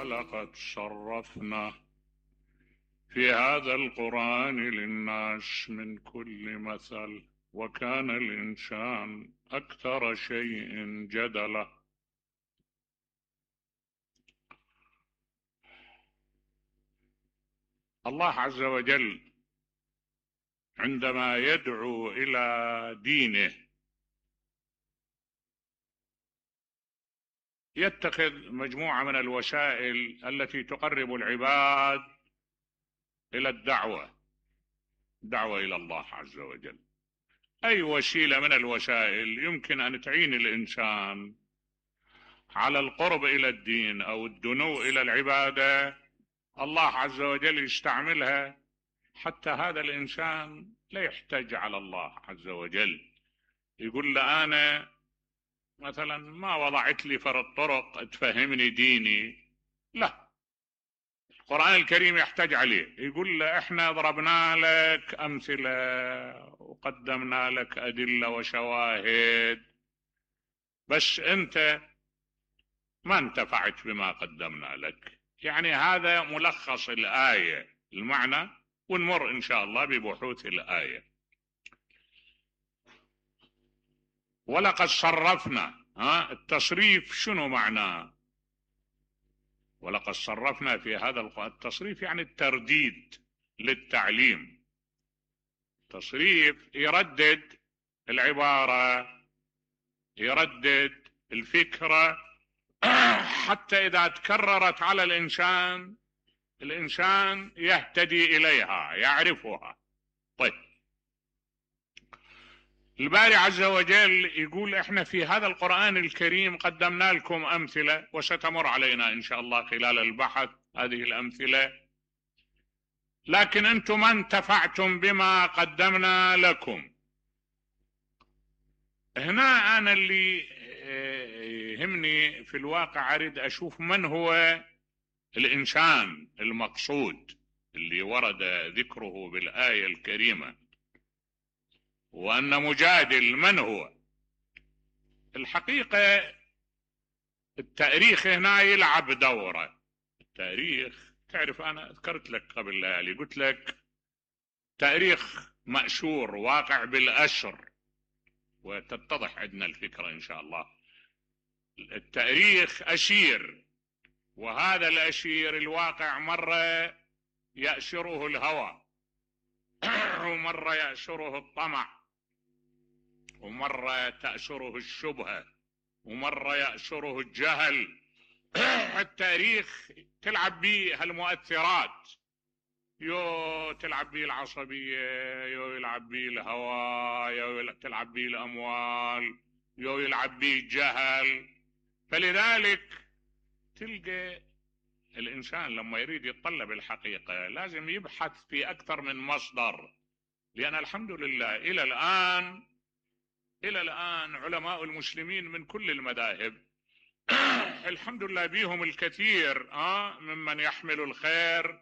ولقد صرفنا في هذا القرآن للناس من كل مثل وكان الإنسان أكثر شيء جدلا. الله عز وجل عندما يدعو إلى دينه يتخذ مجموعة من الوسائل التي تقرب العباد إلى الدعوة إلى الله عز وجل. أي وسيلة من الوسائل يمكن أن تعين الإنسان على القرب إلى الدين أو الدنو إلى العبادة الله عز وجل يستعملها حتى هذا الإنسان لا يحتج على الله عز وجل. يقول له أنا مثلا ما وضعت لي فرد طرق تفهمني ديني، لا، القرآن الكريم يحتاج عليه. يقول له احنا ضربنا لك أمثلة وقدمنا لك أدلة وشواهد بس أنت ما انتفعت بما قدمنا لك. يعني هذا ملخص الآية المعنى، ونمر إن شاء الله ببحوث الآية. ولقد صرفنا، التصريف شنو معناه؟ ولقد صرفنا في هذا القرآن. التصريف يعني الترديد للتعليم. تصريف يردد العبارة، يردد الفكرة حتى إذا تكررت على الإنسان يهتدي إليها يعرفها. طيب، الباري عز وجل يقول احنا في هذا القرآن الكريم قدمنا لكم أمثلة وستمر علينا إن شاء الله خلال البحث هذه الأمثلة، لكن أنتم ما انتفعتم بما قدمنا لكم. هنا أنا اللي يهمني في الواقع أريد أشوف من هو الإنسان المقصود اللي ورد ذكره بالآية الكريمة، وأن مجادل من هو. الحقيقة التاريخ هنا يلعب دوره. التاريخ تعرف أنا ذكرت لك قبل ليالي قلت لك تاريخ مأشور واقع بالأشر، وتتضح عندنا الفكرة إن شاء الله. التاريخ أشير، وهذا الأشير الواقع مرة يأشره الهوى ومرة يأشره الطمع، ومرة تأشره الشبهة، ومرة يأشره الجهل. التاريخ تلعب به هالمؤثرات، يو تلعب به العصبية، يو يلعب به الهوى، يو تلعب به الأموال، يو يلعب به الجهل. فلذلك تلقى الإنسان لما يريد يتطلب الحقيقة لازم يبحث في أكثر من مصدر، لأن الحمد لله إلى الآن علماء المسلمين من كل المذاهب الحمد لله بيهم الكثير ممن يحمل الخير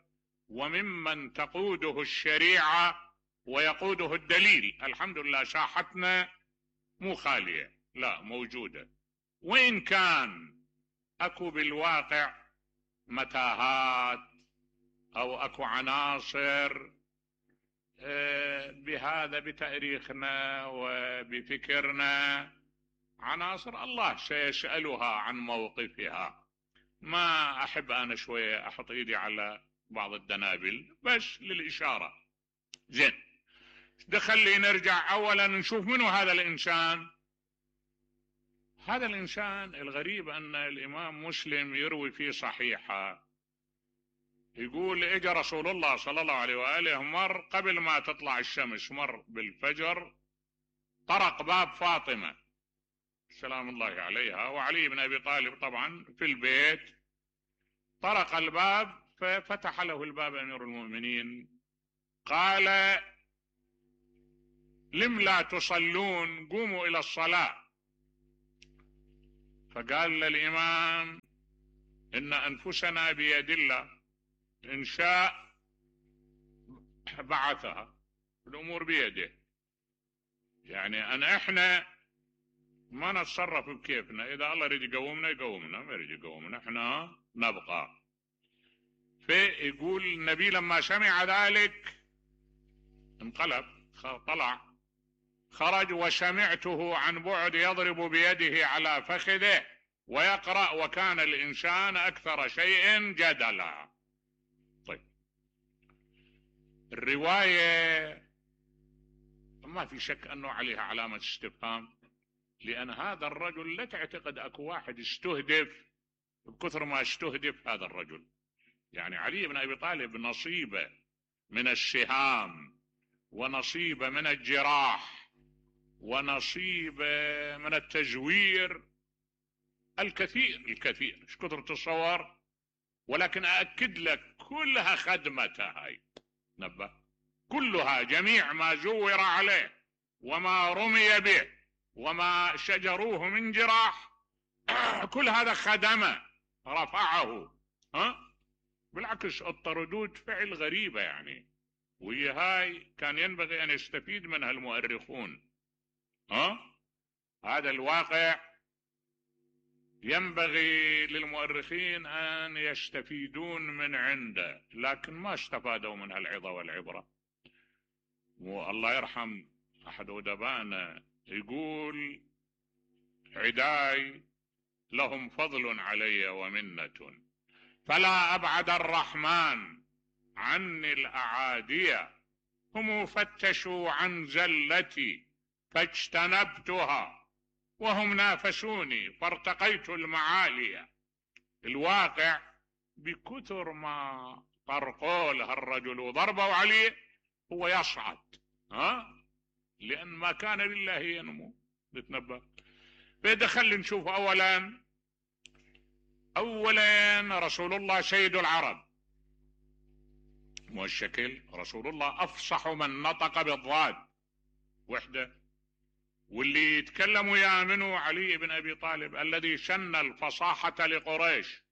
وممن تقوده الشريعة ويقوده الدليل. الحمد لله ساحتنا مو خالية، لا موجودة، وإن كان أكو بالواقع متاهات أو أكو عناصر بهذا بتاريخنا وبفكرنا، عناصر الله سيسألها عن موقفها. ما أحب أنا شوية أحط إيدي على بعض الدنابل بس للإشارة. زين، دخلي نرجع أولا نشوف منو هذا الإنسان. هذا الإنسان الغريب أن الإمام مسلم يروي في صحيحه يقول اجى رسول الله صلى الله عليه وآله مر قبل ما تطلع الشمس، مر بالفجر، طرق باب فاطمة سلام الله عليها وعلي بن أبي طالب طبعا في البيت. طرق الباب ففتح له الباب أمير المؤمنين، قال لم لا تصلون قوموا إلى الصلاة. فقال للإمام إن أنفسنا بيد الله، إن شاء بعثها، الأمور بيده. يعني أن إحنا ما نتصرف بكيفنا، إذا الله يريد يقومنا يقومنا، ما يريد يقومنا إحنا نبقى. فيقول النبي لما سمع ذلك انقلب، طلع خرج، وسمعته عن بعد يضرب بيده على فخذه ويقرأ: وكان الإنسان أكثر شيء جدلا. طيب، الرواية ما في شك أنه عليها علامة استفهام، لأن هذا الرجل لا تعتقد أكو واحد استهدف بكثر ما استهدف هذا الرجل. يعني علي بن أبي طالب نصيبه من السهام، ونصيبه من الجراح، ونصيبه من التزوير الكثير الكثير، ايش كثر تصور. ولكن أأكد لك كلها خدمته هاي، نبه، كلها، جميع ما زور عليه وما رمي به وما شجروه من جراح، كل هذا خدمه، رفعه. بالعكس الطردود فعل غريبة يعني، وهي هاي كان ينبغي أن يستفيد منها المؤرخون. هذا الواقع ينبغي للمؤرخين أن يستفيدون من عنده، لكن ما استفادوا من العظة والعبرة. والله يرحم أحد أدبائنا يقول: عداي لهم فضل علي ومنة، فلا أبعد الرحمن عني الأعادية، هم فتشوا عن زلتي فاجتنبتها، وهم نافسوني فارتقيت المعالية. الواقع بكثر ما طرقوا له الرجل وضربوا عليه هو يصعد، لأن ما كان لله ينمو. نتنبه فدخل نشوف أولا رسول الله سيد العرب، مو الشكل، رسول الله أفصح من نطق بالضاد وحده، واللي يتكلم وياه منه علي بن أبي طالب الذي شن الفصاحة لقريش.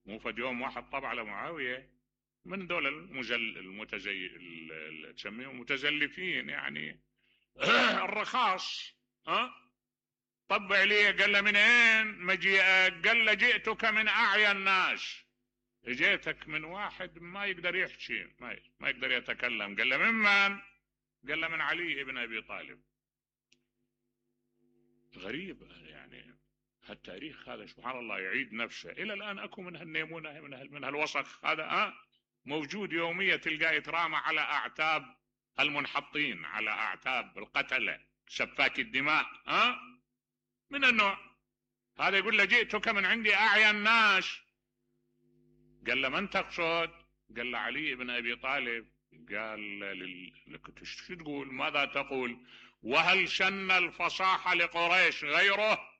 مو فد يوم واحد طبع على معاوية من دول تسميهم متزلفين يعني الرخاص، طبع لي، قال له: من اين مجيئك؟ قال له: جئتك من أعيا الناس، جئتك من واحد ما يقدر يحكي، ما يقدر يتكلم. قال له: ممن؟ قال له: من علي بن أبي طالب. غريب يعني، هالتاريخ هذا سبحان الله يعيد نفسه إلى الآن. أكو من هالنيمونة من هالوسخ هذا موجود يوميا، تلقاه يترامى على أعتاب المنحطين، على أعتاب القتلة سفاك الدماء، من النوع هذا. يقول له: جئتك من عندي أعيا الناس. قال له: من تقصد؟ قال له: علي بن أبي طالب. قال شو تقول؟ ماذا تقول؟ وهل شن الفصاحة لقريش غيره؟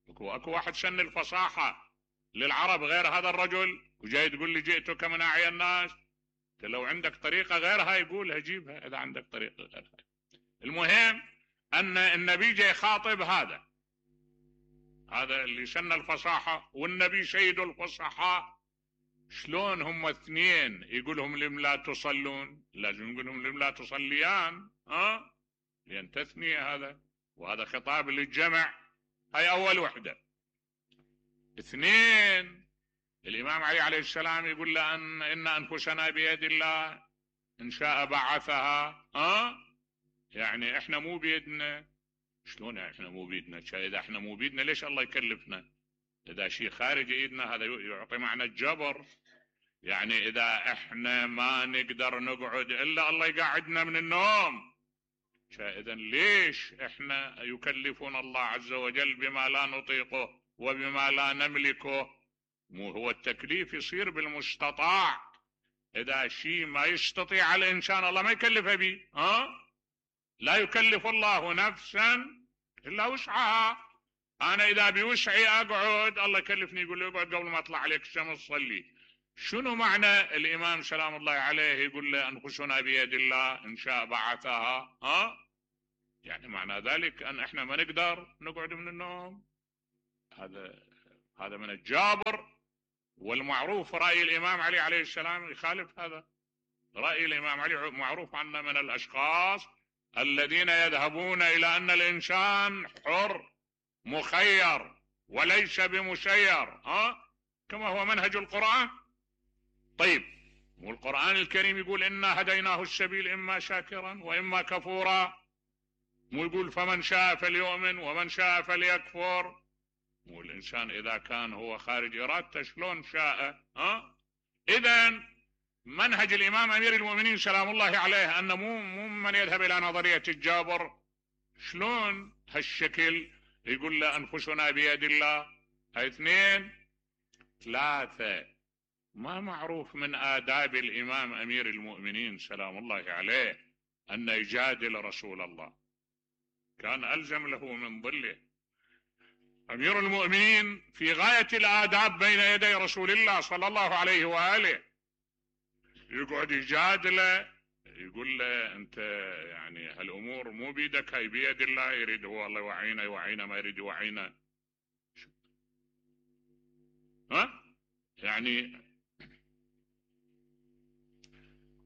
اكو واحد شن الفصاحة للعرب غير هذا الرجل، وجاي تقول لي جئتك من أعيا الناس؟ لو عندك طريقة غيرها يقولها، جيبها إذا عندك طريقة غيرها. المهم أن النبي جاي خاطب هذا اللي شن الفصاحة، والنبي سيد الفصحاء. شلون هم اثنين يقولهم لم لا تصلون؟ لازم يقولهم لم لا تصليان، لأن تثنية هذا، وهذا خطاب للجمع. هاي أول وحدة. اثنين، الإمام علي عليه السلام يقول له: إن أنفسنا بيد الله، إن شاء بعثها. يعني إحنا مو بيدنا. شلون إحنا مو بيدنا؟ إذا إحنا مو بيدنا ليش الله يكلفنا؟ إذا شيء خارج إيدنا هذا يعطي معنى الجبر. يعني إذا إحنا ما نقدر نقعد إلا الله يقعدنا من النوم، إذا ليش إحنا يكلفنا الله عز وجل بما لا نطيقه وبما لا نملكه؟ مو هو التكليف يصير بالمستطاع. إذا شيء ما يستطيع الإنسان الله ما يكلفه به. لا يكلف الله نفسا إلا وسعها. أنا إذا بوسعي أقعد، الله يكلفني يقول لي اقعد قبل ما أطلع عليك الشمس صلي. شنو معنى الإمام سلام الله عليه يقول له: أنفسنا بيد الله، إن شاء بعثها؟ يعني معنى ذلك أن إحنا ما نقدر نقعد من النوم. هذا من الجابر. والمعروف رأي الإمام علي عليه السلام يخالف هذا. رأي الإمام علي معروف عنه من الأشخاص الذين يذهبون إلى أن الإنسان حر مخير وليس بمسير، كما هو منهج القرآن. طيب، والقرآن الكريم يقول إنا هديناه السبيل إما شاكرا وإما كفورا، مو يقول فمن شاء فليؤمن ومن شاء فليكفر؟ والإنسان إذا كان هو خارج إرادته شلون شاء؟ إذن منهج الإمام أمير المؤمنين سلام الله عليه أنه مو من يذهب إلى نظرية الجابر. شلون هالشكل يقول له أنفسنا بيد الله؟ هاي 2 3. ما معروف من آداب الإمام أمير المؤمنين سلام الله عليه أن يجادل رسول الله، كان ألزم له من ظله. أمير المؤمنين في غاية الآداب بين يدي رسول الله صلى الله عليه وآله، يقعد يجادله، يقول له أنت يعني هالأمور مو بيدك، هاي بيد الله، يريد هو الله يوعينا يوعينا، ما يريد يوعينا. يعني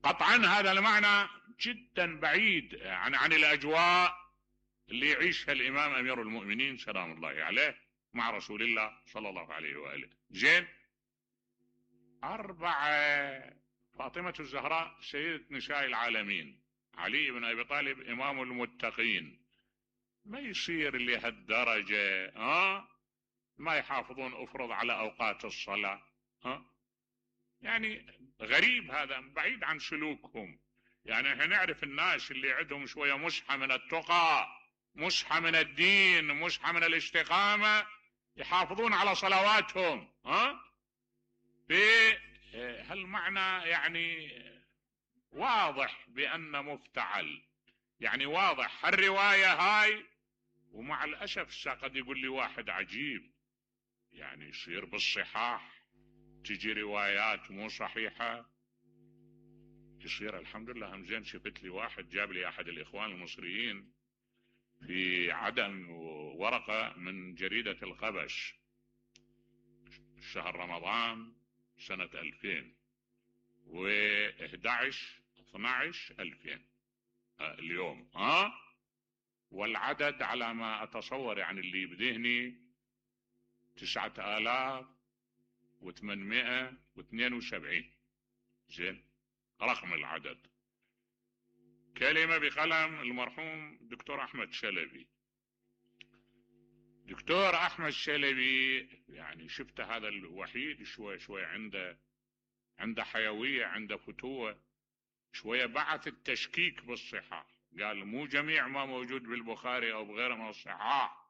قطعا هذا المعنى جدا بعيد عن الأجواء اللي يعيشها الإمام أمير المؤمنين سلام الله عليه مع رسول الله صلى الله عليه وآله. زين. 4. فاطمة الزهراء سيدة نساء العالمين، علي بن أبي طالب إمام المتقين. ما يصير لهالدرجة ما يحافظون أفرض على أوقات الصلاة. يعني غريب، هذا بعيد عن سلوكهم. يعني احنا نعرف الناس اللي عندهم شوية مسحة من التقى، مسحة من الدين، مسحة من الاستقامة، يحافظون على صلواتهم. هالمعنى يعني واضح بأن مفتعل، يعني واضح هالرواية هاي. ومع الأسف قد يقول لي واحد عجيب، يعني يصير بالصحاح تجي روايات مو صحيحة، يصير الحمد لله. هم زين شفت لي واحد جاب لي أحد الإخوان المصريين في عدن ورقة من جريدة القبش شهر رمضان سنة 2011/12/2000 اليوم. والعدد على ما أتصور يعني اللي بذهني 9872. زين، رقم العدد. كلمة بقلم المرحوم دكتور أحمد شلبي. دكتور أحمد شلبي يعني شفت هذا الوحيد شوي عنده حيوية، عنده فتوة شوية. بعث التشكيك بالصحة، قال مو جميع ما موجود بالبخاري أو بغيره من الصحاح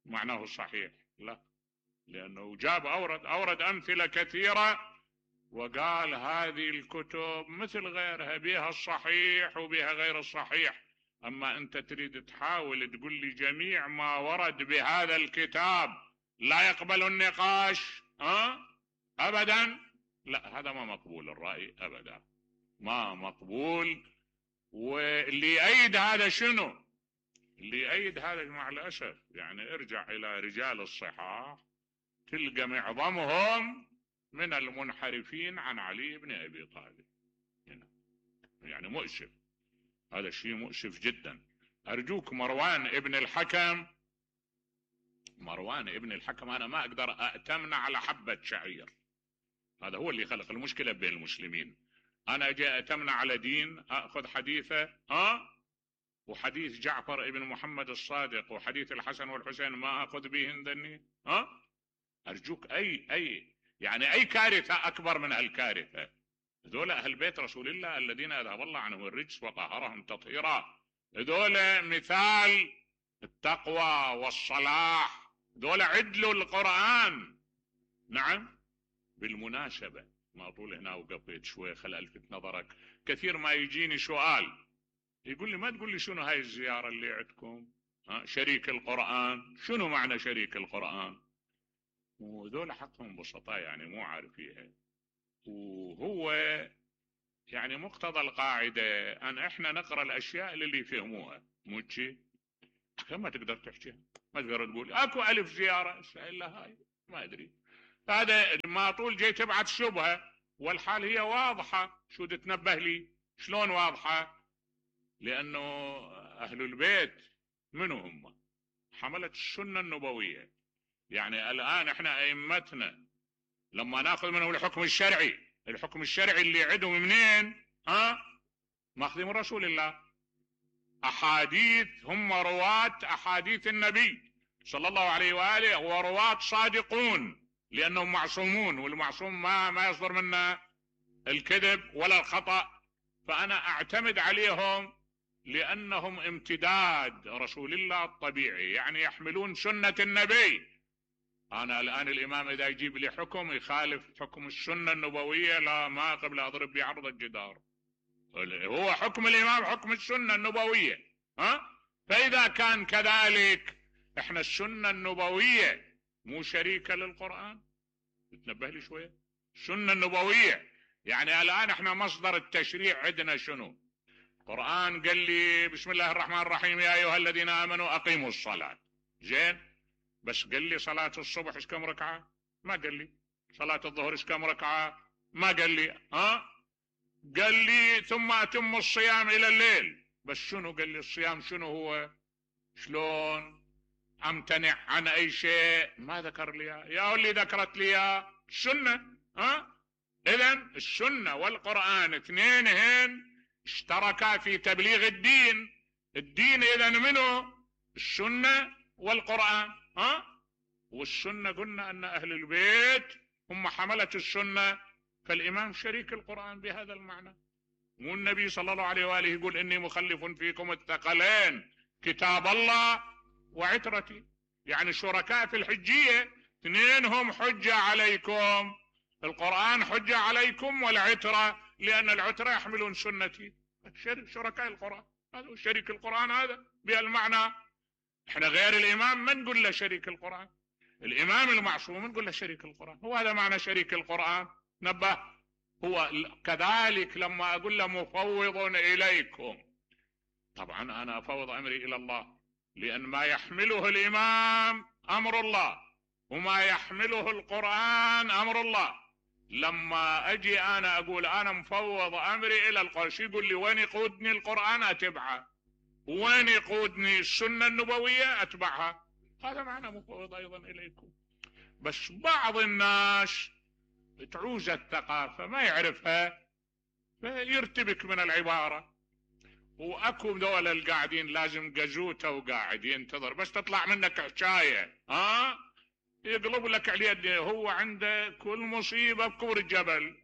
معناه صحيح، لا، لأنه جاب أورد أمثلة كثيرة وقال هذه الكتب مثل غيرها بها الصحيح وبها غير الصحيح. أما أنت تريد تحاول تقول لي جميع ما ورد بهذا الكتاب لا يقبل النقاش أبدا، لا، هذا ما مقبول الرأي أبدا، ما مقبول. واللي يأيد هذا شنو؟ اللي يأيد هذا مع الأسف يعني ارجع إلى رجال الصحاح تلقى معظمهم من المنحرفين عن علي بن أبي طالب. يعني مؤسف، هذا الشيء مؤسف جدا. أرجوك مروان ابن الحكم أنا ما أقدر أأتمنى على حبة شعير، هذا هو اللي خلق المشكلة بين المسلمين. أنا جاء أتمنى على دين أخذ حديثه وحديث جعفر ابن محمد الصادق وحديث الحسن والحسين ما أخذ بهن ذني. أرجوك أي كارثة أكبر من هالكارثة. ذولا أهل بيت رسول الله الذين أذهب الله عنهم الرجس وطهرهم تطهيرا، ذولا مثال التقوى والصلاح، ذولا عدلوا القرآن. نعم، بالمناسبة ما أطول هنا وقفيت شوي، خل ألفت نظرك. كثير ما يجيني سؤال يقول لي ما تقول لي شنو هاي الزيارة اللي عندكم شريك القرآن؟ شنو معنى شريك القرآن؟ وذول حقهم بسطاء يعني مو عارفيها. وهو يعني مقتضى القاعدة أن إحنا نقرأ الأشياء اللي يفهموها، مو شي ما تقدر تحكيها، ما تقدر تقول أكو ألف زيارة إلا هاي ما أدري. هذا ما طول جاي تبعت شبهة والحال هي واضحة. شو تتنبه لي شلون واضحة؟ لأنه أهل البيت منو هم؟ حملة السنة النبوية. يعني الآن إحنا أئمتنا لما نأخذ منهم الحكم الشرعي الحكم الشرعي اللي عندهم منين؟ ماخذين من رسول الله. احاديث، هم رواة احاديث النبي صلى الله عليه واله، ورواة صادقون لانهم معصومون، والمعصوم ما يصدر منه الكذب ولا الخطأ. فانا اعتمد عليهم لانهم امتداد رسول الله الطبيعي، يعني يحملون سنة النبي. انا الان الامام اذا يجيب لي حكم يخالف حكم السنة النبوية، لا، ما قبل اضرب بعرض الجدار. هو حكم الامام حكم السنة النبوية. فاذا كان كذلك، احنا السنة النبوية مو شريكة للقرآن؟ تنبه لي شوية. السنة النبوية يعني الان احنا مصدر التشريع عندنا شنو؟ القرآن قال لي بسم الله الرحمن الرحيم يا ايها الذين امنوا اقيموا الصلاة. زين، بس قال لي صلاة الصبح ايش كم ركعة؟ ما قال لي. صلاة الظهر ايش كم ركعة؟ ما قال لي. قال لي ثم اتم الصيام الى الليل. بس شنو قال لي الصيام شنو هو؟ شلون امتنع عن اي شيء؟ ما ذكر لي يا اللي ذكرت لي السنة. اذا السنة والقرآن اثنينهن اشتركا في تبليغ الدين. الدين اذا منه السنة والقرآن. والسنة قلنا ان اهل البيت هم حملة السنة، فالامام شريك القرآن بهذا المعنى. مو النبي صلى الله عليه وآله يقول اني مخلف فيكم الثقلين كتاب الله وعترتي، يعني شركاء في الحجية، اثنينهم حجة عليكم، القرآن حجة عليكم والعترة، لأن العترة يحملون سنتي. شركاء القرآن، هذا شريك القرآن هذا بهالمعنى. احنا غير الإمام ما نقول له شريك القرآن، الإمام المعصوم نقول له شريك القرآن. هو هذا معنى شريك القرآن. نبه. هو كذلك لما أقول له مفوض إليكم، طبعا أنا أفوض أمري إلى الله، لأن ما يحمله الإمام أمر الله، وما يحمله القرآن أمر الله. لما أجي أنا أقول أنا مفوض أمري إلى القرآن، شو يقول لي؟ وين يقودني القرآن أتبعه، وين يقودني السنة النبوية أتبعها. هذا معنى مفوض أيضا إليكم. بس بعض الناس تعوز الثقافة ما يعرفها، فيرتبك من العبارة. واكو دول القاعدين لازم قزوته وقاعد ينتظر بس تطلع منك حكاية، يقلب لك عليه. هو عنده كل مصيبة بكور الجبل،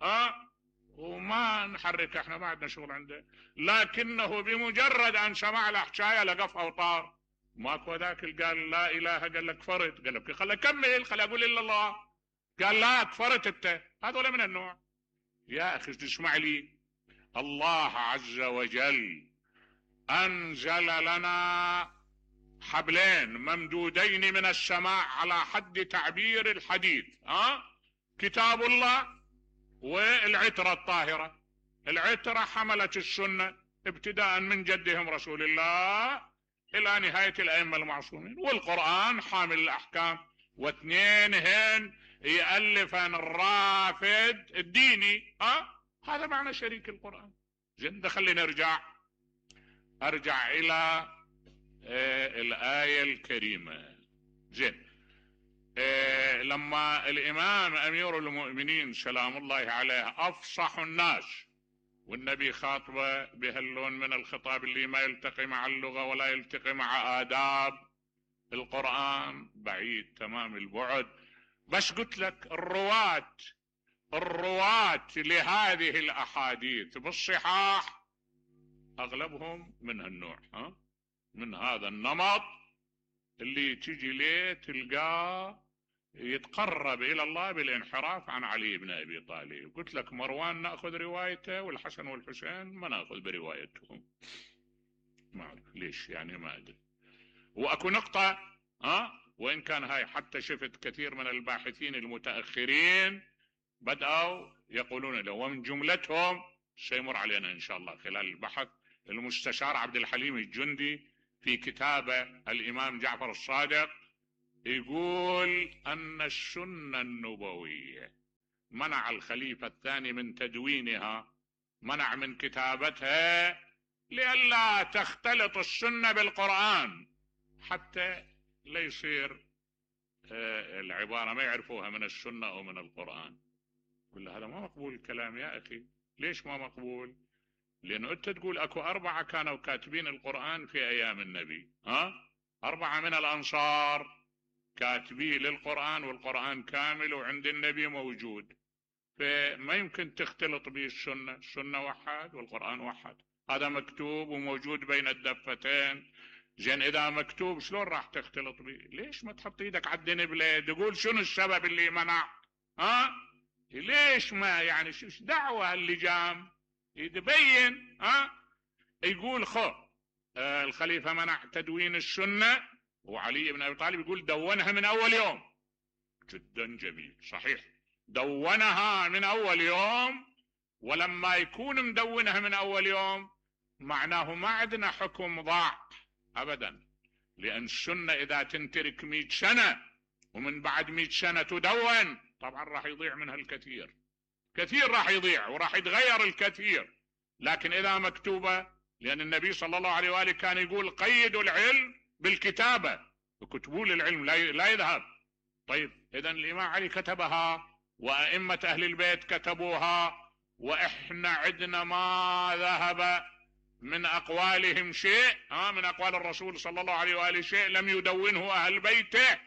وما نحرك، احنا ما عندنا شغل عنده، لكنه بمجرد ان سمع له حكاية لقف اوطار. ماكو ذاك قال لا اله، قال لك كفرت، قال لك خلي اكمل، خلي اقول الا الله، قال لا كفرت انت. هذول من النوع. يا اخي تسمع لي، الله عز وجل انزل لنا حبلين ممدودين من السماء على حد تعبير الحديث، كتاب الله والعترة الطاهرة. العترة حملت السنة ابتداء من جدهم رسول الله الى نهاية الائمة المعصومين، والقرآن حامل الاحكام، واثنينهن يألفن الرافد الديني. هذا معنى شريك القرآن. زين، خلينا ارجع الى الآية الكريمة. زين، لما الامام امير المؤمنين سلام الله عليه افصح الناس، والنبي خاطبه بهاللون من الخطاب اللي ما يلتقي مع اللغة ولا يلتقي مع آداب القرآن، بعيد تمام البعد. بس قلت لك الرواة لهذه الاحاديث بالصحاح اغلبهم من هالنوع، من هذا النمط اللي تجي ليه تلقاه يتقرب الى الله بالانحراف عن علي بن ابي طالب. قلت لك مروان ناخذ روايته، والحسن والحسين ما ناخذ بروايتهم. ما اعرف ليش، يعني ما ادري. واكو نقطة، وان كان هاي حتى شفت كثير من الباحثين المتاخرين بدأوا يقولون له، ومن جملتهم سيمر علينا ان شاء الله خلال البحث المستشار عبد الحليم الجندي في كتابه الامام جعفر الصادق، يقول ان السنة النبوية منع الخليفة الثاني من تدوينها، منع من كتابتها لئلا تختلط السنة بالقرآن، حتى لا يصير العبارة ما يعرفوها من السنة او من القرآن. قل له هذا ما مقبول الكلام يا أخي. ليش ما مقبول؟ لأنه أنت تقول أكو 4 كانوا كاتبين القرآن في أيام النبي، 4 من الأنصار كاتبين للقرآن، والقرآن كامل وعند النبي موجود، فما يمكن تختلط به السنة. السنة وحد والقرآن وحد، هذا مكتوب وموجود بين الدفتين. زين إذا مكتوب شلون راح تختلط به؟ ليش ما تحط ايدك على الدنبلة تقول شنو السبب اللي منع؟ ليش ما يعني شو دعوة اللجام يتبين؟ يقول الخليفة منع تدوين السنة، وعلي بن أبي طالب يقول دونها من أول يوم. جدا جميل، صحيح، دونها من أول يوم. ولما يكون مدونها من أول يوم معناه ما عندنا حكم ضاع أبدا، لأن السنة إذا تنترك 100 سنة ومن بعد 100 سنة تدون، طبعا راح يضيع منها الكثير، كثير راح يضيع وراح يتغير الكثير. لكن إذا مكتوبة، لأن النبي صلى الله عليه وآله كان يقول قيدوا العلم بالكتابة، وكتبوا للعلم لا يذهب. طيب إذا الإمام علي كتبها وأئمة أهل البيت كتبوها، وإحنا عندنا ما ذهب من أقوالهم شيء، من أقوال الرسول صلى الله عليه وآله شيء لم يدونه أهل بيته.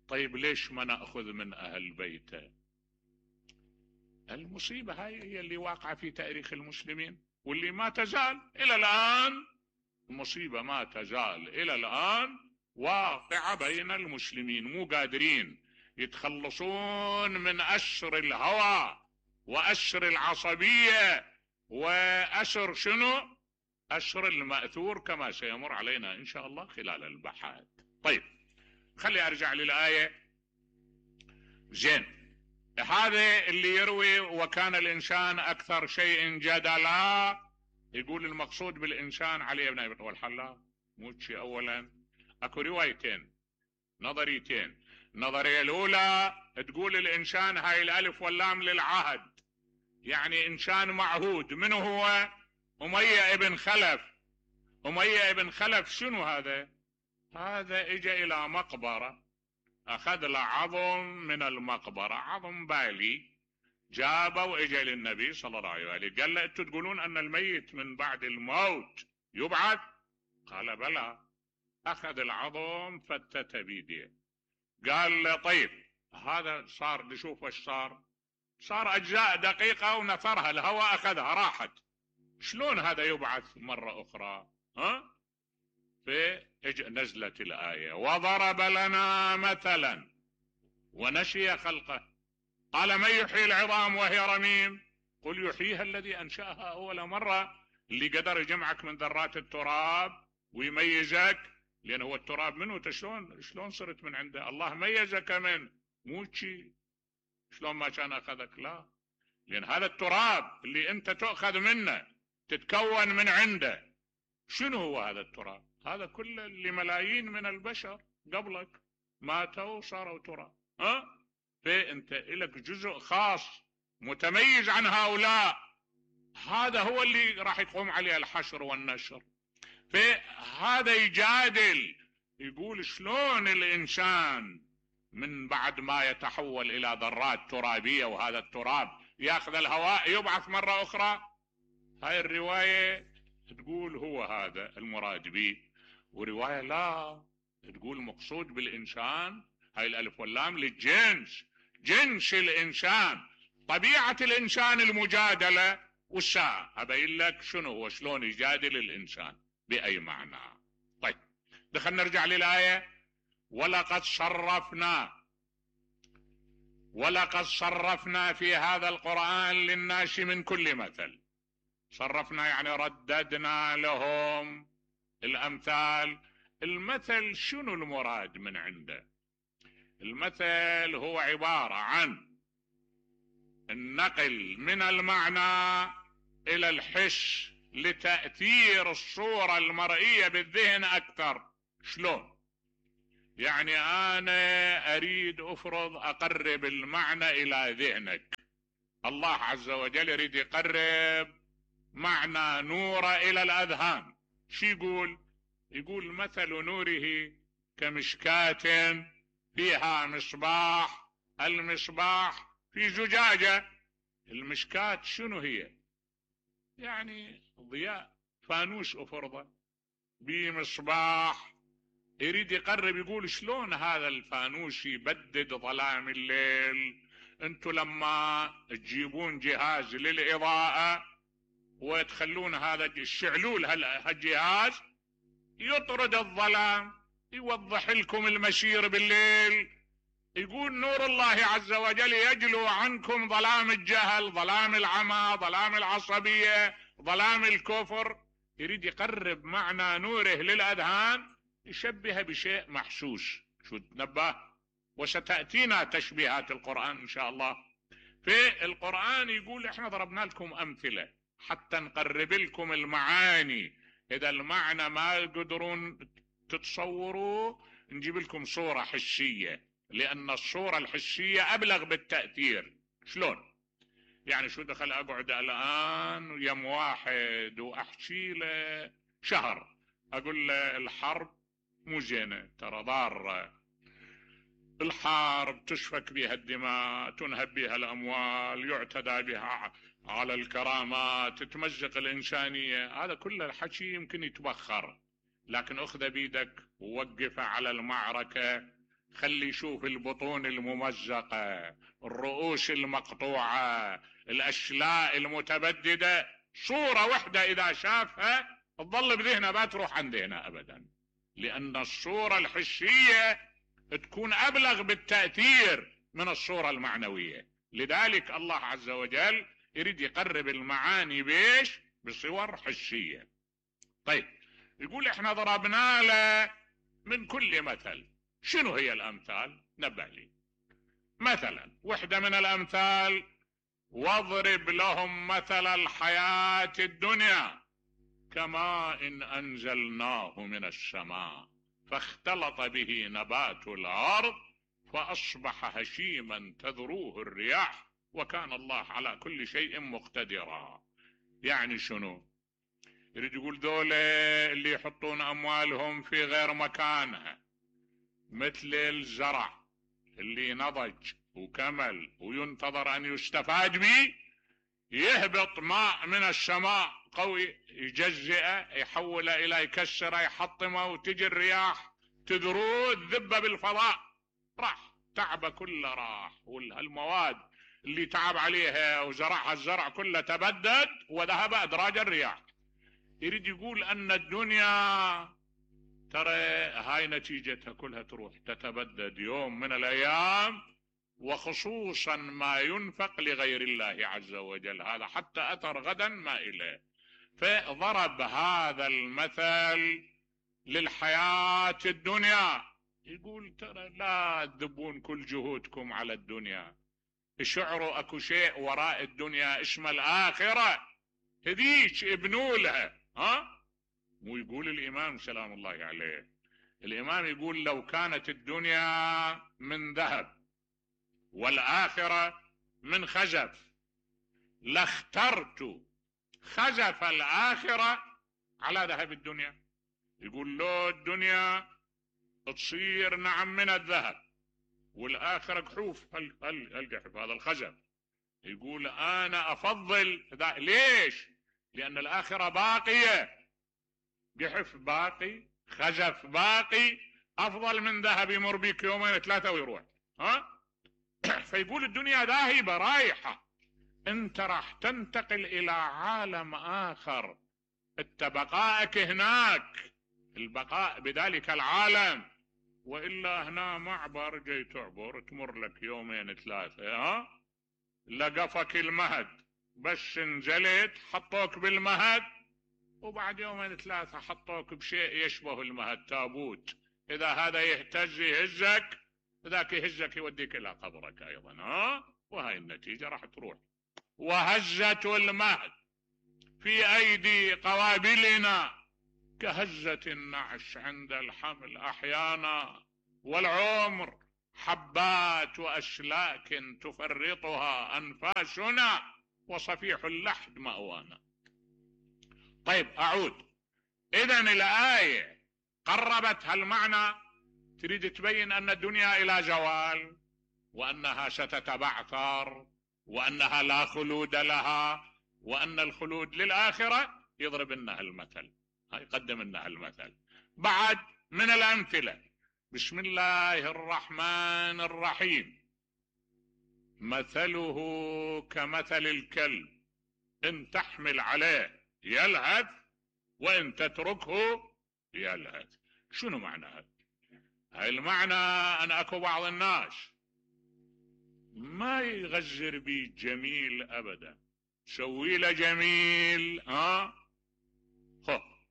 طيب ليش ما نأخذ من أهل بيته؟ المصيبة هاي هي اللي واقعة في تاريخ المسلمين، واللي ما تزال إلى الآن، المصيبة ما تزال إلى الآن واقعة بين المسلمين، مو قادرين يتخلصون من أسر الهوى وأسر العصبية وأسر شنو؟ أسر المأثور، كما سيمر علينا إن شاء الله خلال البحث. طيب خلي أرجع للآية. زين، هذا اللي يروي وكان الإنسان أكثر شيء جدلا، يقول المقصود بالإنسان علي بن أبي طالب والحلا موتشي. أولا أكو روايتين نظريتين. النظرية الأولى تقول الإنسان هاي الألف واللام للعهد، يعني إنسان معهود. منه هو؟ أمية ابن خلف. أمية ابن خلف شنو هذا؟ هذا اجى إلى مقبرة، أخذ له عظم من المقبرة، عظم بالي، جابه وإجى للنبي صلى الله عليه وآله قال له أنتم تقولون أن الميت من بعد الموت يبعث؟ قال بلى. أخذ العظم فتت بيديه، قال له طيب هذا صار، نشوف ايش صار. صار أجزاء دقيقة ونثرها الهواء أخذها راحت، شلون هذا يبعث مرة أخرى؟ نزلت الآية وضرب لنا مثلا ونشي خلقه قال من يحيي العظام وهي رميم قل يحييها الذي أنشأها أول مرة. اللي قدر يجمعك من ذرات التراب ويميزك، لأن هو التراب منه، شلون صرت من عنده؟ الله ميزك من موتشي، شلون ما كان أخذك؟ لا، لأن هذا التراب اللي أنت تأخذ منه تتكون من عنده. شنو هو هذا التراب؟ هذا كله لملايين من البشر قبلك ماتوا وصاروا تراب. فأنت إلك جزء خاص متميز عن هؤلاء، هذا هو اللي راح يقوم عليه الحشر والنشر. فهذا يجادل، يقول شلون الإنسان من بعد ما يتحول إلى ذرات ترابية وهذا التراب يأخذ الهواء يبعث مرة أخرى؟ هاي الرواية تقول هو هذا المراد به، ورواية لا تقول مقصود بالإنسان هاي الألف واللام للجنس، جنس الإنسان، طبيعة الإنسان المجادلة والساعة. أبين لك شنو هو، شلون يجادل الإنسان بأي معنى. طيب دخلنا نرجع للآية. ولقد صرفنا في هذا القرآن للناس من كل مثل. صرفنا يعني رددنا لهم الأمثال. المثل شنو المراد من عنده؟ المثل هو عبارة عن النقل من المعنى إلى الحس لتأثير الصورة المرئية بالذهن أكثر. شلون؟ يعني أنا أريد أفرض أقرب المعنى إلى ذهنك، الله عز وجل يريد يقرب معنى نور إلى الأذهان. شو يقول؟ يقول مثل نوره كمشكاة فيها مصباح، المصباح في زجاجة، المشكات شنو هي؟ يعني ضياء، فانوس أفرضه بمصباح، يريد يقرب يقول شلون هذا الفانوس يبدد ظلام الليل؟ انتم لما تجيبون جهاز للإضاءة وتخلون هذا الشعلول هالجهاز يطرد الظلام، يوضح لكم المسير بالليل. يقول نور الله عز وجل يجلو عنكم ظلام الجهل، ظلام العمى، ظلام العصبية، ظلام الكفر. يريد يقرب معنى نوره للأذهان، يشبه بشيء محسوس. شو تنبه؟ وستأتينا تشبيهات القرآن إن شاء الله. في القرآن يقول احنا ضربنا لكم أمثلة حتى نقرب لكم المعاني. إذا المعنى ما قدرون تتصوروا نجيب لكم صورة حسية، لأن الصورة الحسية أبلغ بالتأثير. شلون؟ يعني شو دخل أقعد الآن يم واحد وأحكي له شهر أقول له الحرب مو زينة، ترى ضارة، الحرب تسفك بها الدماء، تنهب بها الأموال، يعتدى بها على الكرامات، تمزق الإنسانية. هذا كله الحكي يمكن يتبخر، لكن أخذ بيدك ووقف على المعركة، خلي يشوف البطون الممزقة، الرؤوس المقطوعة، الأشلاء المتبددة. صورة واحدة إذا شافها تظل بذهنه، ما تروح عن ذهنه أبدا، لأن الصورة الحسية تكون أبلغ بالتأثير من الصورة المعنوية. لذلك الله عز وجل يريد يقرب المعاني بيش؟ بصور حسية. طيب، يقول احنا ضربنا له من كل مثل. شنو هي الأمثال؟ نبه لي. مثلا وحدة من الأمثال: واضرب لهم مثل الحياة الدنيا كماء إن أنزلناه من السماء فاختلط به نبات الأرض فأصبح هشيما تذروه الرياح وكان الله على كل شيء مقتدرا. يعني شنو؟ يريد يقول ذولا اللي يحطون أموالهم في غير مكانها، مثل الزرع اللي نضج وكمل وينتظر أن يستفاد به، يهبط ماء من السماء قوي يجزئه، يحوله إلى يكسره، يحطمه، وتجي الرياح تذروه، الذبة بالفضاء، راح تعبه كله راح، والمواد اللي تعب عليها وزرعها الزرع كله تبدد وذهب أدراج الرياح. يريد يقول أن الدنيا ترى هاي نتيجتها كلها تروح تتبدد يوم من الأيام، وخصوصا ما ينفق لغير الله عز وجل، هذا حتى أثر غدا ما إليه. فضرب هذا المثل للحياة الدنيا، يقول ترى لا تذبون كل جهودكم على الدنيا، اشعروا اكو شيء وراء الدنيا اسمه الآخرة، هذيك ابنوا لها. مو يقول الإمام سلام الله عليه، الإمام يقول لو كانت الدنيا من ذهب والآخرة من خزف لاخترت خزف الآخرة على ذهب الدنيا. يقول لو الدنيا تصير نعم من الذهب والآخرة قحوف، القحف هذا الخزف، يقول أنا أفضل ليش؟ لأن الآخرة باقية، قحف باقي، خزف باقي، أفضل من ذهب يمر بيك يومين ثلاثة ويروح. فيقول الدنيا ذاهبة رايحة، انت راح تنتقل إلى عالم آخر، انت بقائك هناك، البقاء بذلك العالم، وإلا هنا معبر جاي تعبر تمر لك يومين ثلاثة، لقفك المهد، بس نزلت حطوك بالمهد، وبعد يومين ثلاثة حطوك بشيء يشبه المهد، تابوت، إذا هذا يهتز يهزك، ذاك يهزك يوديك إلى قبرك أيضا. وهاي النتيجة راح تروح. وهزة المهد في أيدي قوابلنا كهزة النعش عند الحمل أحيانا، والعمر حبات وأشلاك تفرطها أنفاسنا وصفيح اللحد مأوانا. طيب أعود. إذن الآية قربت هالمعنى، تريد تبين أن الدنيا إلى زوال وأنها ستتبعثر وأنها لا خلود لها، وأن الخلود للآخرة، يضرب لنا المثل، يقدم لنا المثل. بعد من الأمثلة: بسم الله الرحمن الرحيم: مثله كمثل الكلب إن تحمل عليه يلهث وإن تتركه يلهث. شنو معنى هذا؟ هاي المعنى أن أكو بعض الناس ما يغزر بي جميل أبدا، تسوي له جميل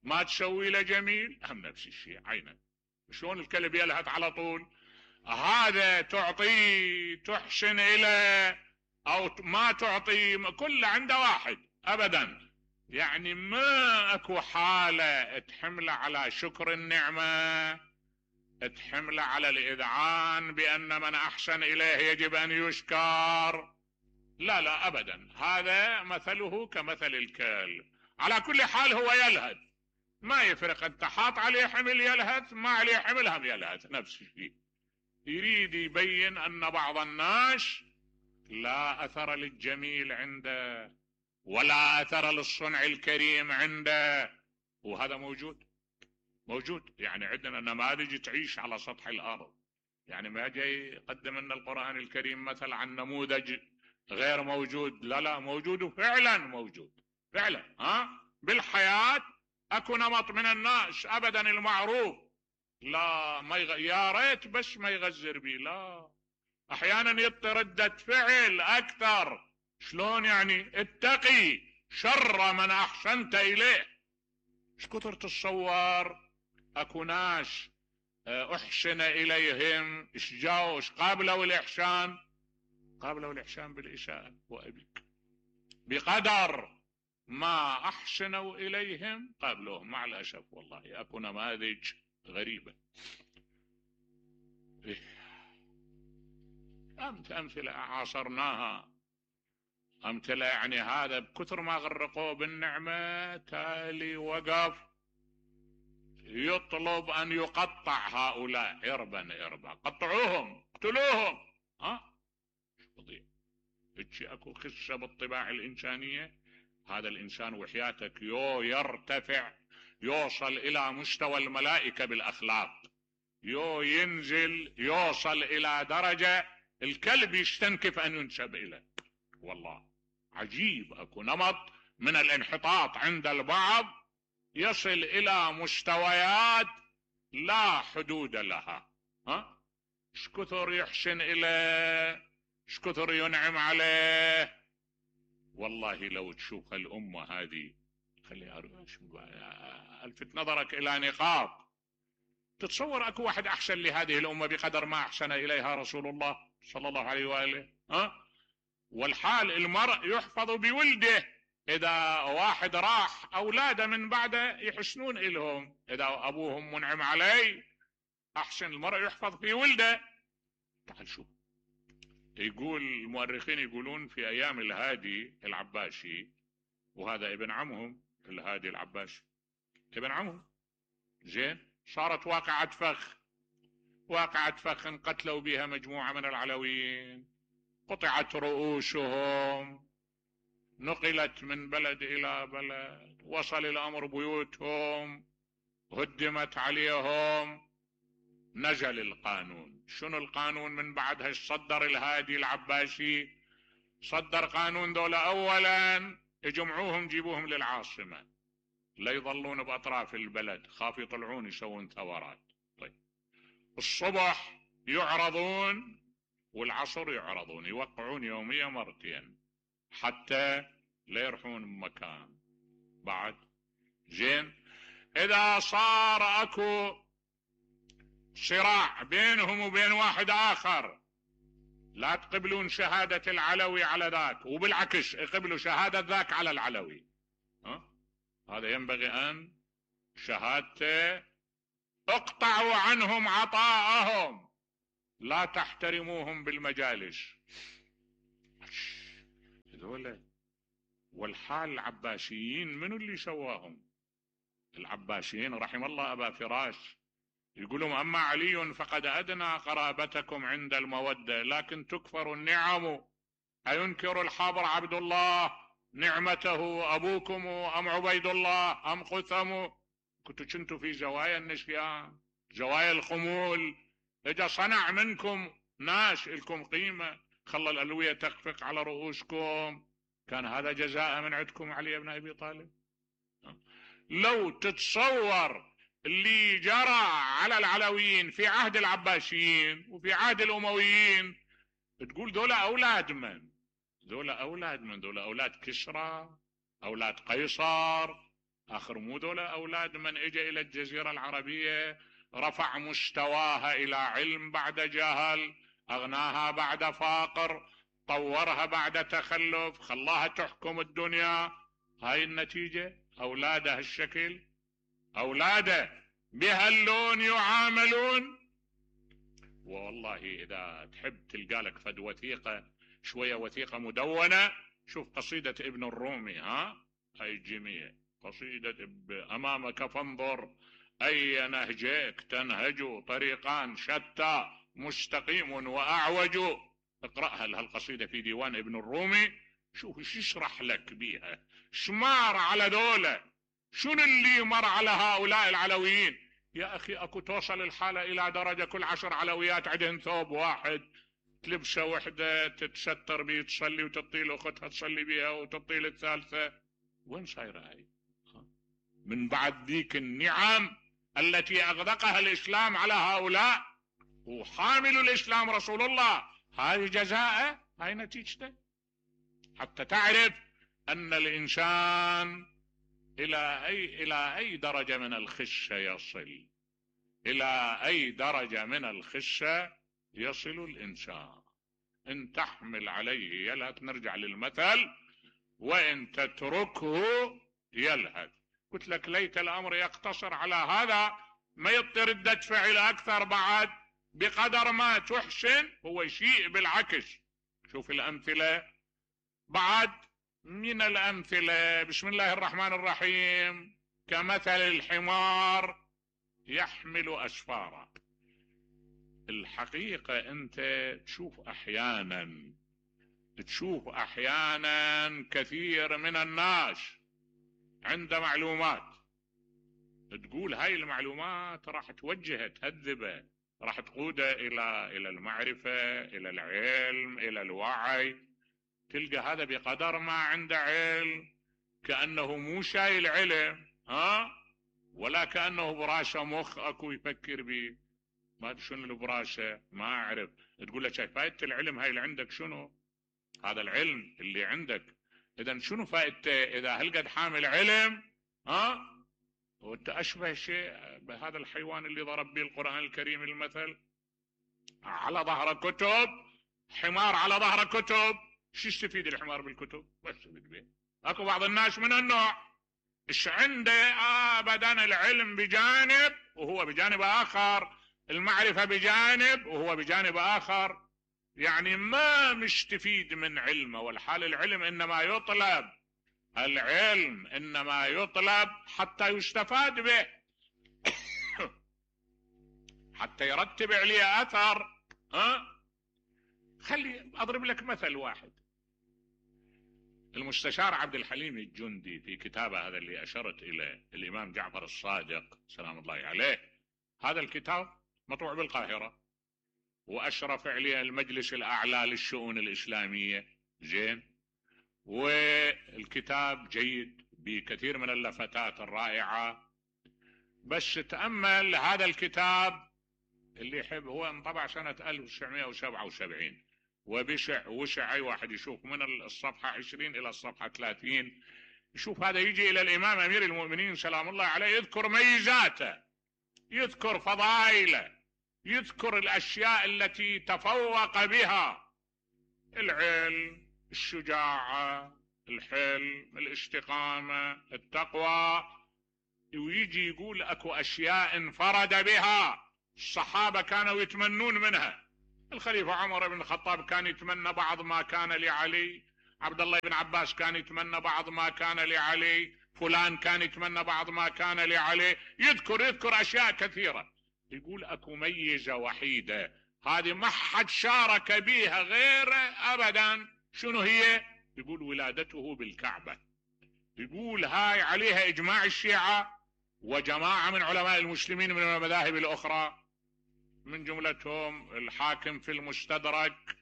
ما تسوي له جميل هم نفس الشيء عينا. شلون الكلب يلهث على طول؟ هذا تعطيه تحسن إليه أو ما تعطيه، كله عنده واحد أبدا. يعني ما أكو حالة تحمله على شكر النعمة، تحمله على الإذعان بأن من أحسن إليه يجب أن يشكر، لا لا أبدا. هذا مثله كمثل الكلب. على كل حال هو يلهث، ما يفرق، انت حاط عليه حمل يلهث، ما عليه حمل هم يلهث نفس الشيء. يريد يبين أن بعض الناس لا أثر للجميل عنده ولا أثر للصنع الكريم عنده، وهذا موجود. يعني عندنا نماذج تعيش على سطح الأرض. يعني ما جاي يقدم لنا القرآن الكريم مثل عن نموذج غير موجود، لا موجود، وفعلا موجود فعلا. بالحياة اكو نمط من الناس ابدا المعروف لا ما يا ريت بس ما يغزر بي، لا احيانا يعطي ردة فعل اكثر. شلون يعني؟ اتقي شر من احسنت اليه. ايش كثر تتصور اكو ناس احسن اليهم، ايش جاوا ايش قابلوا الاحسان؟ قابلوا الاحسان بالاساءة. وابيك بقدر ما احسنوا اليهم قابلوهم، مع الاسف والله اكو نماذج غريبة. امثلة عاصرناها، امثلة يعني هذا بكثر ما غرقوه بالنعمة تالي وقف يطلب ان يقطع هؤلاء اربا، قطعوهم اقتلوهم. فظيع. اكو خشة بالطباع الانسانية. هذا الانسان وحياتك يرتفع، يوصل الى مستوى الملائكة بالاخلاق، ينزل يوصل الى درجة الكلب يستنكف ان ينسب اليه. والله عجيب، اكو نمط من الانحطاط عند البعض يصل الى مستويات لا حدود لها. ايش كثر يحسن اليه، ايش كثر ينعم عليه. والله لو تشوف الامة هذه، خليها الفت نظرك الى نقاط. تتصور اكو واحد احسن لهذه الامة بقدر ما احسن اليها رسول الله صلى الله عليه واله؟ والحال المرء يحفظ بولده. اذا واحد راح اولاده من بعده يحسنون الهم، اذا ابوهم منعم عليه احسن المرء يحفظ في ولده. تعال شوف، يقول المؤرخين يقولون في ايام الهادي العباسي، وهذا ابن عمهم الهادي العباسي ابن عمهم، زين، صارت واقعة فخ قتلوا بها مجموعة من العلويين، قطعت رؤوسهم، نقلت من بلد الى بلد، وصل الامر بيوتهم، هدمت عليهم. نزل القانون. شنو القانون من بعدها؟ صدر الهادي العباسي، صدر قانون دولة اولا يجمعوهم جيبوهم للعاصمة، لا يظلون باطراف البلد، خاف يطلعون يسوون ثورات. طيب الصبح يعرضون والعصر يعرضون، يوقعون يوميا مرتين حتى لا يروحون مكان بعد. زين، اذا صار اكو صراع بينهم وبين واحد اخر، لا تقبلون شهادة العلوي على ذاك، وبالعكس يقبلوا شهادة ذاك على العلوي. هذا ينبغي ان شهادته اقطعوا عنهم عطاءهم، لا تحترموهم بالمجالس. هذول والحال العباسيين منو اللي سواهم؟ العباسيين رحم الله ابا فراش يقولون اما علي فقد ادنى قرابتكم عند المودة، لكن تكفر النعم أينكر الحبر عبد الله نعمته أبوكم أم عبيد الله أم قثم؟ كنتوا في زوايا النسيان، زوايا الخمول. إذا صنع منكم ناس لكم قيمة، خلى الألوية تخفق على رؤوسكم، كان هذا جزاء من عندكم علي بن أبي طالب؟ لو تتصور اللي جرى على العلويين في عهد العباسيين وفي عهد الأمويين، تقول دول أولاد من؟ دول أولاد كسرى، أولاد قيصر. آخر مو دول أولاد من إجا إلى الجزيرة العربية رفع مستواها إلى علم بعد جهل، أغناها بعد فقر، طورها بعد تخلف، خلاها تحكم الدنيا. هاي النتيجة، أولاده هالشكل، أولاده بهاللون يعاملون. والله إذا تحب تلقى لك فد وثيقة، شوية وثيقة مدونة، شوف قصيدة ابن الرومي، هاي الجميع قصيدة أمامك فانظر أي نهجك تنهج، طريقان شتى مستقيم وأعوج. اقرأها هالقصيدة في ديوان ابن الرومي، شوف ايش يشرح لك بيها، شمار على دولة، شنو اللي مر على هؤلاء العلويين. يا أخي أكو توصل الحالة إلى درجة كل 10 علويات عندهن ثوب واحد، تلبسه وحدة تتستر بيه تصلي، وتطيل أختها تصلي بيها، وتطيل الثالثة. وين صايرة هاي؟ من بعد ذيك النعم التي أغدقها الإسلام على هؤلاء، وحامل الإسلام رسول الله، هاي جزاءه، هاي نتيجته. حتى تعرف أن الإنسان إلى أي درجة من الخشة يصل، إلى أي درجة من الخشة يصل الإنسان. إن تحمل عليه يلهث، نرجع للمثل، وإن تتركه يلهث. قلت لك ليت الأمر يقتصر على هذا، ما يضطر ردة فعل أكثر بعد. بقدر ما تحسن هو يسيء بالعكس. شوف الأمثلة بعد، من الأمثلة بسم الله الرحمن الرحيم، كمثل الحمار يحمل أسفارا. الحقيقة أنت تشوف أحيانا كثير من الناس عند معلومات، تقول هاي المعلومات راح توجهه تهذبه، راح تقوده إلى المعرفة، إلى العلم، إلى الوعي. تلقى هذا بقدر ما عنده علم كأنه مو شايل علم، ولا كأنه براسه مخ أكو يفكر به. ما شنو البراسة؟ ما أعرف. تقول له شايف فائدة العلم هاي اللي عندك شنو؟ هذا العلم اللي عندك إذا شنو فائدته إذا هالقد حامل علم؟ وانت أشبه شيء بهذا الحيوان اللي ضرب به القرآن الكريم المثل، على ظهر كتب، حمار على ظهر كتب. شو يستفيد الحمار بالكتب؟ بس به. اكو بعض الناس من النوع ايش عنده ابدا العلم بجانب وهو بجانب اخر، المعرفة بجانب وهو بجانب اخر، يعني ما مستفيد من علمه. والحال العلم انما يطلب، العلم انما يطلب حتى يستفاد به، حتى يرتب عليه اثر. خلي اضرب لك مثل واحد. المستشار عبد الحليم الجندي في كتابه هذا اللي اشرت اليه الامام جعفر الصادق سلام الله عليه، هذا الكتاب مطبوع بالقاهرة واشرف عليه المجلس الاعلى للشؤون الاسلامية، زين، والكتاب جيد بكثير من اللفتات الرائعة. بس تأمل هذا الكتاب اللي يحب، هو انطبع سنة 1977 وشع اي واحد يشوف من الصفحة 20 الى الصفحة 30 يشوف هذا يجي الى الامام امير المؤمنين سلام الله عليه يذكر ميزاته، يذكر فضائله، يذكر الاشياء التي تفوق بها: العلم، الشجاعة، الحلم، الاستقامة، التقوى. ويجي يقول اكو اشياء انفرد بها الصحابة كانوا يتمنون منها. الخليفة عمر بن الخطاب كان يتمنى بعض ما كان لعلي، عبد الله بن عباس كان يتمنى بعض ما كان لعلي، فلان كان يتمنى بعض ما كان لعلي. يذكر اشياء كثيرة. يقول اكو ميزة وحيدة هذه ما حد شارك بيها غيره ابدا، شنو هي؟ يقول ولادته بالكعبة. يقول هاي عليها إجماع الشيعة وجماعة من علماء المسلمين من المذاهب الأخرى، من جملتهم الحاكم في المستدرك،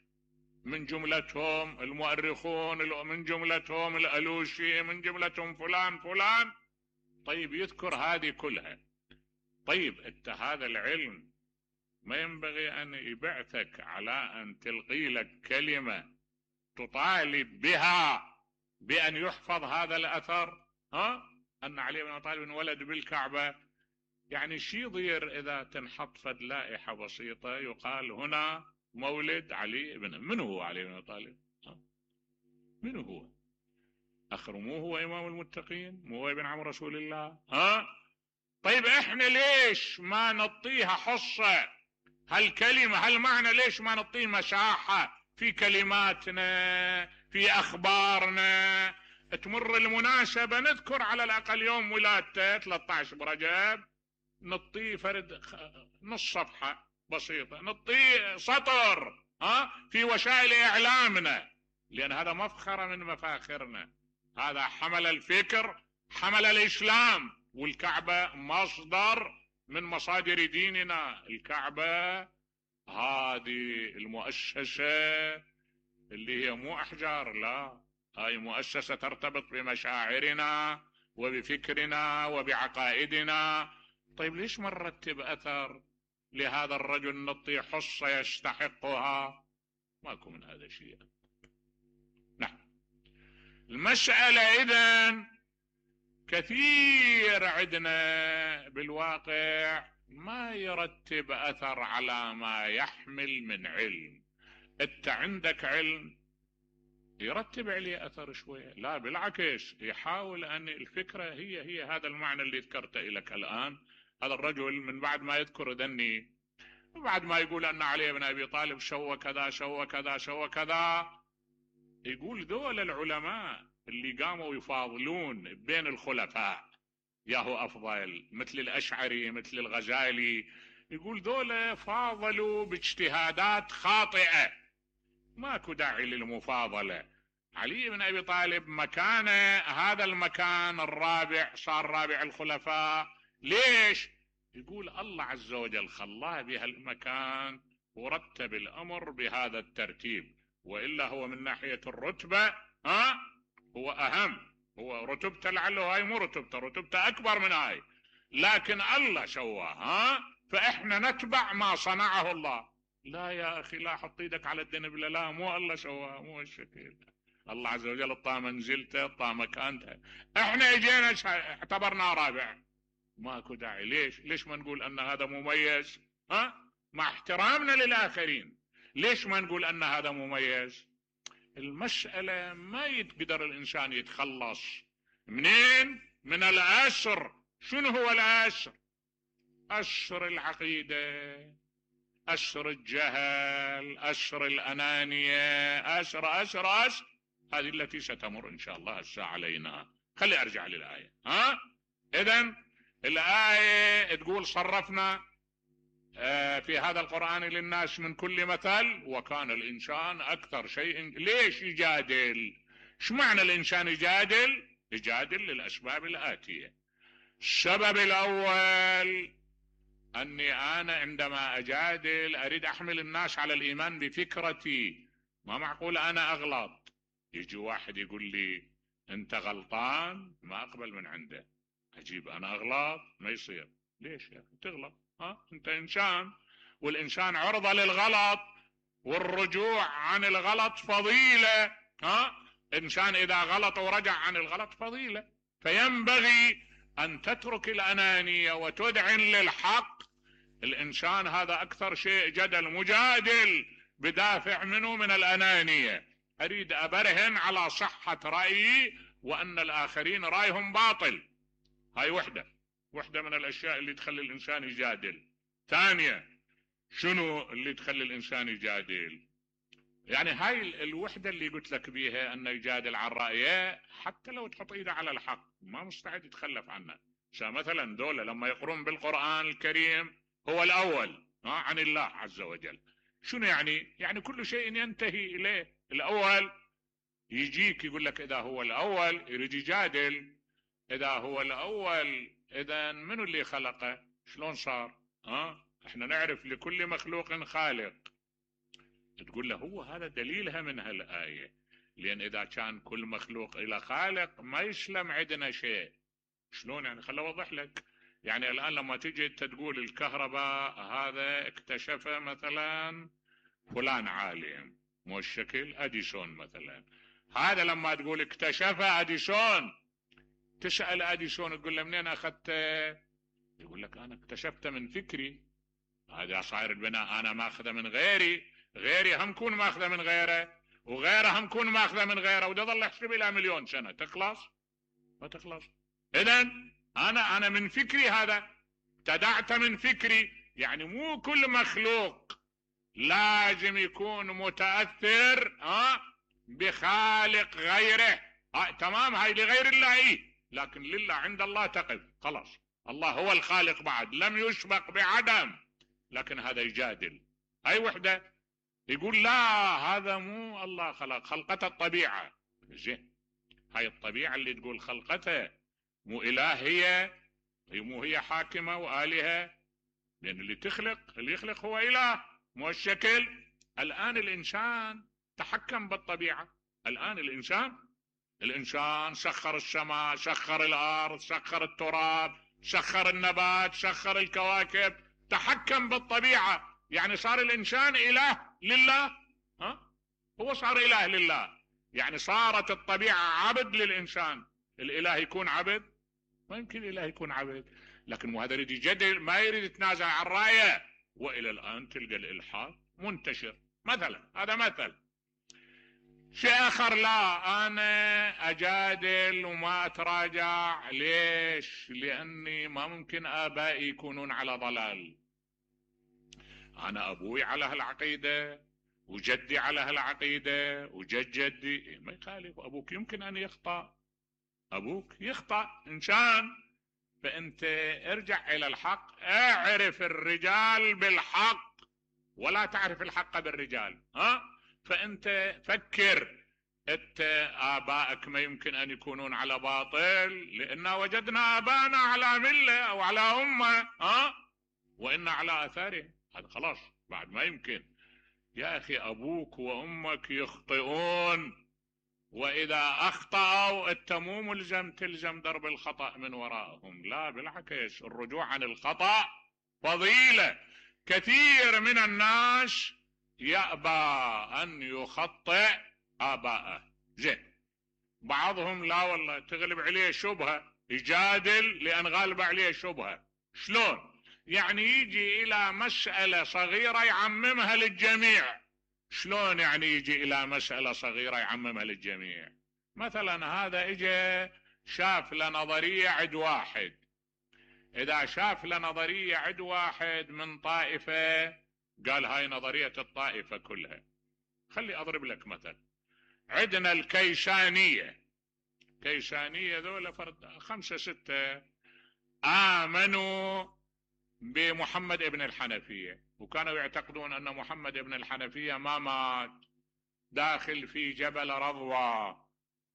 من جملتهم المؤرخون، من جملتهم الألوشي، من جملتهم فلان فلان. طيب يذكر هذه كلها. طيب انت هذا العلم ما ينبغي ان يبعثك على ان تلقي لك كلمة تطالب بها بان يحفظ هذا الاثر؟ ان علي بن ابي طالب ولد بالكعبة. يعني شي يضير اذا تنحط فد لائحة بسيطة يقال هنا مولد علي بن، من هو علي بن ابي طالب؟ من هو؟ اخر مو هو امام المتقين؟ مو هو ابن عم رسول الله؟ طيب احنا ليش ما نعطيها حصة هالكلمة هالمعنى؟ ليش ما نعطيه مساحة في كلماتنا في اخبارنا؟ تمر المناسبة نذكر على الاقل يوم ولادته 13 برجب، نعطيه فرد نص صفحة بسيطة، نعطيه سطر في وسائل اعلامنا، لان هذا مفخرة من مفاخرنا. هذا حمل الفكر، حمل الاسلام، والكعبة مصدر من مصادر ديننا. الكعبة هذه المؤسسة اللي هي مو احجار، لا، هاي مؤسسة ترتبط بمشاعرنا وبفكرنا وبعقائدنا. طيب ليش ما نرتب اثر لهذا الرجل نعطي حصة يستحقها؟ ماكو من هذا الشيء. نعم. المسألة اذن كثير عندنا بالواقع ما يرتب اثر على ما يحمل من علم. انت عندك علم يرتب عليه اثر شوية، لا بالعكس يحاول ان الفكرة هي هذا المعنى اللي ذكرته لك الان. هذا الرجل من بعد ما يذكر ذني، بعد ما يقول ان علي بن ابي طالب سوى كذا سوى كذا سوى كذا، يقول ذول العلماء اللي قاموا يفاضلون بين الخلفاء ياهو افضل، مثل الاشعري مثل الغزالي، يقول ذولا فاضلوا باجتهادات خاطئة، ماكو داعي للمفاضلة. علي بن ابي طالب مكانه هذا المكان الرابع، صار رابع الخلفاء. ليش؟ يقول الله عز وجل خلاه بهالمكان ورتب الامر بهذا الترتيب، والا هو من ناحية الرتبة هو اهم، هو رتبته لعله هاي مو رتبته، رتبته اكبر من هاي، لكن الله سواه فاحنا نتبع ما صنعه الله. لا يا اخي، لا حط ايدك على الدنبله، لا مو الله سواه، مو الشكل. الله عز وجل اعطاه منزلته، اعطاه مكانته، احنا اجينا اعتبرنا رابع. ماكو داعي. ليش ما نقول ان هذا مميز مع احترامنا للاخرين؟ ليش ما نقول ان هذا مميز؟ المسألة ما يقدر الانسان يتخلص منين؟ من الأسر. شنو هو الأسر؟ أسر العقيدة، أسر الجهل، أسر الأنانية، أسر هذه التي ستمر إن شاء الله الساعة علينا. خلي أرجع للآية. إذن الآية تقول صرفنا في هذا القرآن للناس من كل مثل وكان الإنسان أكثر شيء. ليش يجادل؟ شو معنى الإنسان يجادل؟ يجادل للأسباب الآتية. السبب الأول أني أنا عندما أجادل أريد أحمل الناس على الإيمان بفكرتي. ما معقول أنا أغلط يجي واحد يقول لي أنت غلطان ما أقبل من عنده، أجيب أنا أغلط؟ ما يصير. ليش يا أخي تغلط؟ أنت إنسان، والإنسان عرضة للغلط، والرجوع عن الغلط فضيلة. إنسان إذا غلط ورجع عن الغلط فضيلة. فينبغي أن تترك الأنانية وتدعن للحق. الإنسان هذا أكثر شيء جدل، مجادل بدافع منه من الأنانية، أريد أبرهن على صحة رأيي وأن الآخرين رأيهم باطل. هاي وحدة من الأشياء اللي تخلي الإنسان يجادل. ثانية، شنو اللي تخلي الإنسان يجادل؟ يعني هاي الوحدة اللي قلت لك بيها أنه يجادل عن رأيه حتى لو تحط إيده على الحق ما مستعد يتخلف عنه. مثلا دولة لما يقرون بالقرآن الكريم هو الأول عن الله عز وجل، شنو يعني؟ يعني كل شيء ينتهي إليه الأول. يجيك يقول لك اذا هو الاول، يريد يجادل اذا هو الاول اذا منو اللي خلقه؟ شلون صار؟ احنا نعرف لكل مخلوق خالق. تقول له هو هذا دليلها من هالآية، لان اذا كان كل مخلوق الى خالق ما يسلم عندنا شيء. شلون يعني؟ خل اوضح لك. يعني الان لما تجي انت تقول الكهرباء هذا اكتشفه مثلا فلان عالم، مو الشكل اديسون مثلا، هذا لما تقول اكتشفه اديسون، تسأل اديسون تقول له منين اخذته؟ يقول لك انا اكتشفته من فكري. هذا صاير البناء انا ماخذه من غيري، غيري هم كون ماخذه من غيره، وغيره هم كون ماخذه من غيره، وده ظل يحسب الى مليون سنه تخلص؟ ما تخلص. اذا انا من فكري، هذا ابتدعت من فكري. يعني مو كل مخلوق لازم يكون متاثر بخالق غيره. تمام، هاي لغير الله لكن لله عند الله تقف خلاص. الله هو الخالق بعد، لم يسبق بعدم. لكن هذا يجادل اي وحده، يقول لا هذا مو الله خلق، خلقته الطبيعه. زين، هاي الطبيعه اللي تقول خلقته مو اله، هي مو هي حاكمه والهه؟ لان اللي يخلق هو اله، مو الشكل. الان الانسان تحكم بالطبيعه. الان الانسان سخر السماء، سخر الارض، سخر التراب، سخر النبات، سخر الكواكب، تحكم بالطبيعه. يعني صار الانسان اله لله. هو صار اله لله، يعني صارت الطبيعه عبد للانسان. الاله يكون عبد؟ ما يمكن الاله يكون عبد. لكن هذا يريد يجدل، ما يريد يتنازع عن رايه. والى الان تلقى الالحاد منتشر مثلا. هذا مثل. شيء اخر، لا انا اجادل وما اتراجع. ليش؟ لاني ما ممكن ابائي يكونون على ضلال. انا ابوي على هالعقيده، وجدي على هالعقيده، وجد جدي. ما يخالف. ابوك يمكن ان يخطأ، ابوك يخطأ انسان. فانت ارجع الى الحق، اعرف الرجال بالحق ولا تعرف الحق بالرجال. فانت فكر، انت ابائك ما يمكن ان يكونون على باطل، لان وجدنا ابانا على مله او على امه، وان على اثارهم. هذا خلاص بعد ما يمكن. يا اخي ابوك وامك يخطئون، واذا اخطأوا انت مو ملزم تلزم درب الخطأ من وراءهم، لا بالعكس، الرجوع عن الخطأ فضيلة. كثير من الناس يأبى ان يخطئ آباءه. زين، بعضهم لا والله تغلب عليه شبهة يجادل لان غالب عليه شبهة. شلون؟ يعني يجي الى مسألة صغيرة يعممها للجميع. شلون يعني يجي الى مسألة صغيرة يعممها للجميع؟ مثلا هذا اجى شاف لنظرية عند واحد. اذا شاف لنظرية عند واحد من طائفة، قال هاي نظرية الطائفة كلها. خلي اضرب لك مثل. عندنا الكيسانية. كيسانية ذولا فرد 5 6 آمنوا بمحمد ابن الحنفية، وكانوا يعتقدون أن محمد ابن الحنفية ما مات، داخل في جبل رضوى،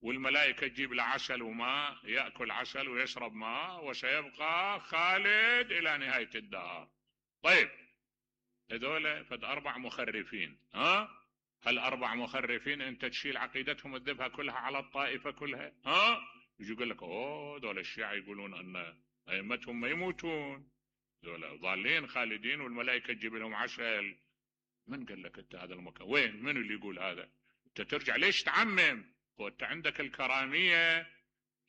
والملائكة تجيب له عسل وماء، يأكل عسل ويشرب ماء، وسيبقى خالد إلى نهاية الدهر. طيب، هذول فد 4 مخرفين. هال4 مخرفين انت تشيل عقيدتهم تذبها كلها على الطائفة كلها؟ يجي يقول لك دول الشيعة يقولون ان ائمتهم ما يموتون، دول ضالين خالدين والملائكة تجيب لهم عسل. من قال لك انت هذا المكان؟ وين؟ من اللي يقول هذا؟ انت ترجع ليش تعمم؟ وانت عندك الكرامية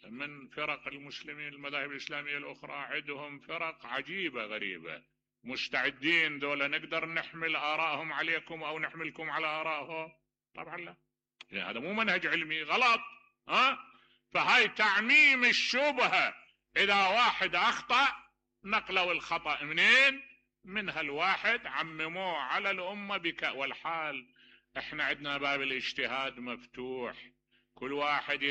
من فرق المسلمين، المذاهب الإسلامية الأخرى عندهم فرق عجيبة غريبة، مستعدين دولة نقدر نحمل آرائهم عليكم أو نحملكم على آرائهم؟ طبعا لا، يعني هذا مو منهج علمي، غلط. فهاي تعميم الشبهة. إذا واحد أخطأ نقلوا الخطأ منين؟ من هالواحد عمموه على الأمة والحال احنا عندنا باب الاجتهاد مفتوح، كل واحد